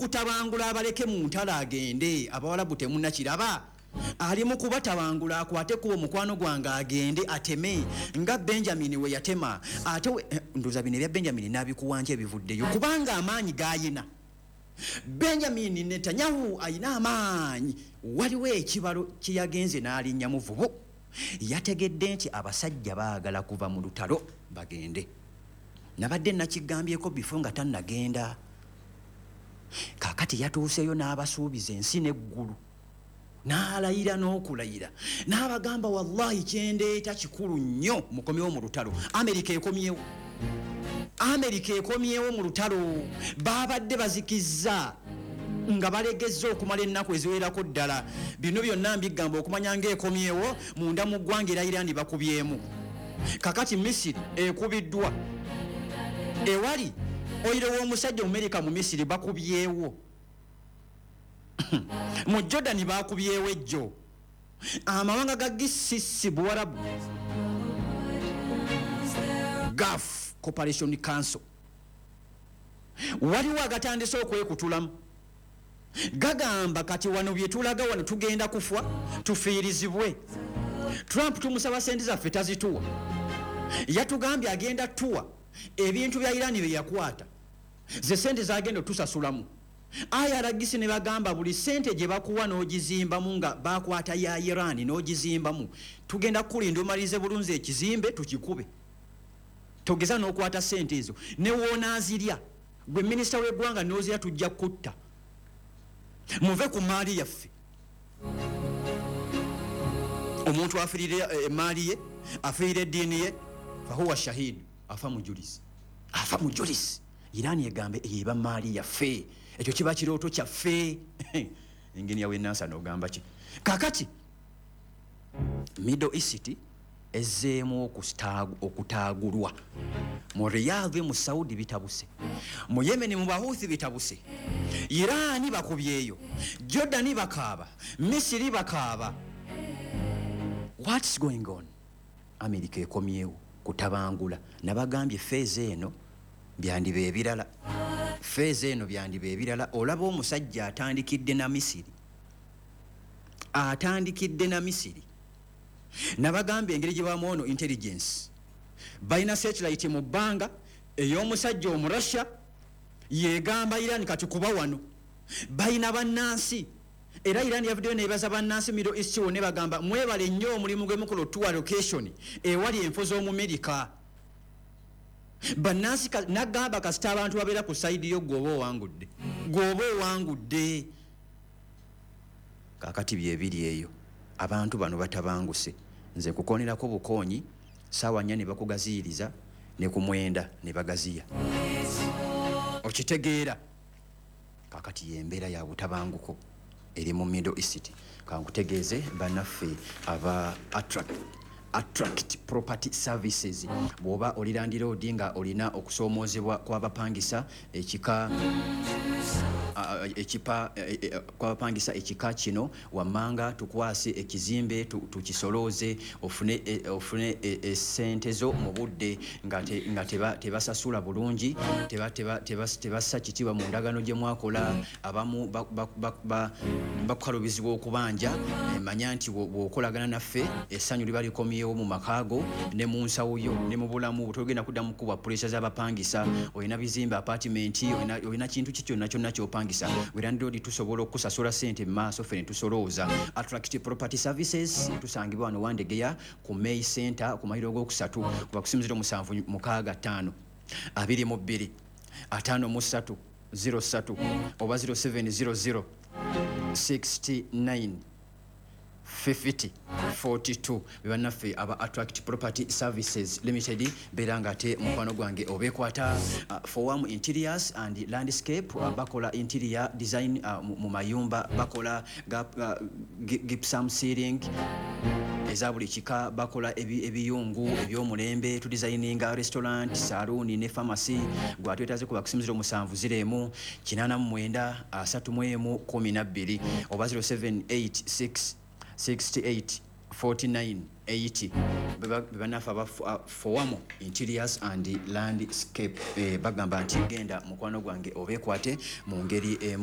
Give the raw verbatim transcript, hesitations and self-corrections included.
Kutabangula abaleke mu ntalo agende. Abawalabu temunnakiraba, ali mu kubatabangula akwate kuba omukwano gwange agende ateme nga Benjamin we yatema. Ate eh, ndowooza bino ebya Benjamin nabikuwanja ebivuddeyo, kubanga amaanyi gayina Benjamin Netanyahu ayina amaanyi. Waliwo ekibalo kyeyagenze n'alinnya muvubu, yategedde nti abasajja baagala kuva mu lutalo bagende. Nabadde nakigambyeko bifo nga tannagenda. Kakati yatuuseyo n'abasuubiza ensi n'eggulu, n'alayira n'okulayira n'abagamba, "Wallahi kyendeeta kikulu nnyo, mukomyewo mu lutalo." Amerika ekomyewo, Amerika ekomyewo mu lutalo. Babadde bazikizza nga balegezza okumala ennaku eziwerako ddala. Bino byonna mbigamba okumanya ngaekomyewo munda mu ggwanga era Irani bakubyemu. Kakati Misiri ekubiddwa, ewali oil w'omusajja Omumerika mu Misiri bakubyewo, mu Jordan bakubyewo ejjo, amawanga ga G C C, Buwarabu, Gulf Cooperation Council, waliwo agatandise okwekutulamu, gagamba kati wano byetulaga wano tugenda kufa tufiirizibwe. Trump tumusaba sente zaffe tazituwa, yatugambye agenda tuwa ebintu bya Irani bye yakwata, ze sente zagenda otusasulamu. I R G C ne bagamba buli sente gye bakuwa n'ogizimbamu nga bakwata ya Iran n'ogizimbamu, tugenda kukulinda omalirize bulungi ekizimbe tukikube. Togeza n'okwata sente ezo ne woonaazirya gwe minisita w'eggwanga n'ozirya, tujja kutta. Muve ku maali yaffe. Omuntu afiirire emaali ye, afiirire eddiini ye, fahuwa shahidu, afa mujulizi, afa mujulizi. Irani egambe eba maali yaffe, ekyo kiba kirooto kyaffe. Engeni yawe nansa nogamba ki? Kakati Middle East ezzeemu okutaagulwa. Mu Riyadh mu Saudi bitabuse, mu Yemen mu Bahuthi bitabuse, Irani bakubyeyo, Jordani bakaaba, Misiri bakaaba. What's going on? America ekomyewo kutabangula. Nabagambye phase eno byandiba ebirala, phase eno byandiba ebirala. Olaba omusajja atandikidde na Misiri, atandikidde na Misiri. Nabagambye engeri gye bamu ono intelligence, balina satellite mu bbanga ey'omusajja Omurussia yegamba Iran kati kuba wano balina bannansi. Era Iran yavuddeyo nebaza bannansi Middle East wonna, bagamba mwebale nnyo omulimu gwe mukola otuwa location ewali enfo z'Omumerika. Bannansi nagamba kasita abantu babeera ku side yo, gwoba owangudde, gwoba owangudde. Kakati byebiri eyo, abantu bano batabanguse. Nze nkukonerako bukoonyi, saawa nnya ne bakugaziyiriza ne ku mwenda ne bagaziya, okitegeera? Kakati yembeera ya butabanguko eri mu Middle East. Kankutegeeze bannaffe aba attract Attract Property Services, bw'oba oli landlord nga olina okusoomoozebwa kw'abapangisa ekika ekipa e, e, kw'abapangisa ekika kino wammanga, tukwase ekizimbe tukisolooze ofune e, ofune esente zo mu budde nga tebasasula bulungi, tebassa kitiibwa mu ndagaano gye mwakola, abamu bakukalubizibwa okubanja. Manya nti bw'okolagana naffe essanyu liba likomyewo mu makaago ne mu nsawo yo ne mu bulamu. Togenda kuddamu kubwa pressure z'abapangisa. Olina bizimbe, apartment, olina kintu ki kyonna kyonna kyopangisa, landlord, tusobola okusasula sente mu maaso ffe ne tusolooza. Attract Property Services tusangibwa wano Wandegeya ku May Center ku mayiro g'okusatu, kuba kusimu zero musanvu mukaaga ttaano abiri mu bbiri ataano mu ssatu zero ssatu oba zero seven zero zero sixty-nine fifty forty-two. Bebannaffe aba Attract Property Services Limited. Beera nga ate mukwano gwange obeekwata. uh, Foam Interiors and Landscape, uh, bakola interior design uh, mu mayumba, bakola uh, gypsum ceiling eza buli kika, bakola ebiyungu ebyomulembe, tudesigninga restaurant, saloon ne pharmacy. Gwatwetaze kuba kusimu zero musanvu zero emu kinaana mu mwenda asatu mu emu kumi na bbiri oba zero seven eight six sixty-eight forty-nine eighty. Bebanafe aba Foamo Interiors and Landscape. eh, bagamba nti genda mukwano gwange obeekwate mu ngeri emu.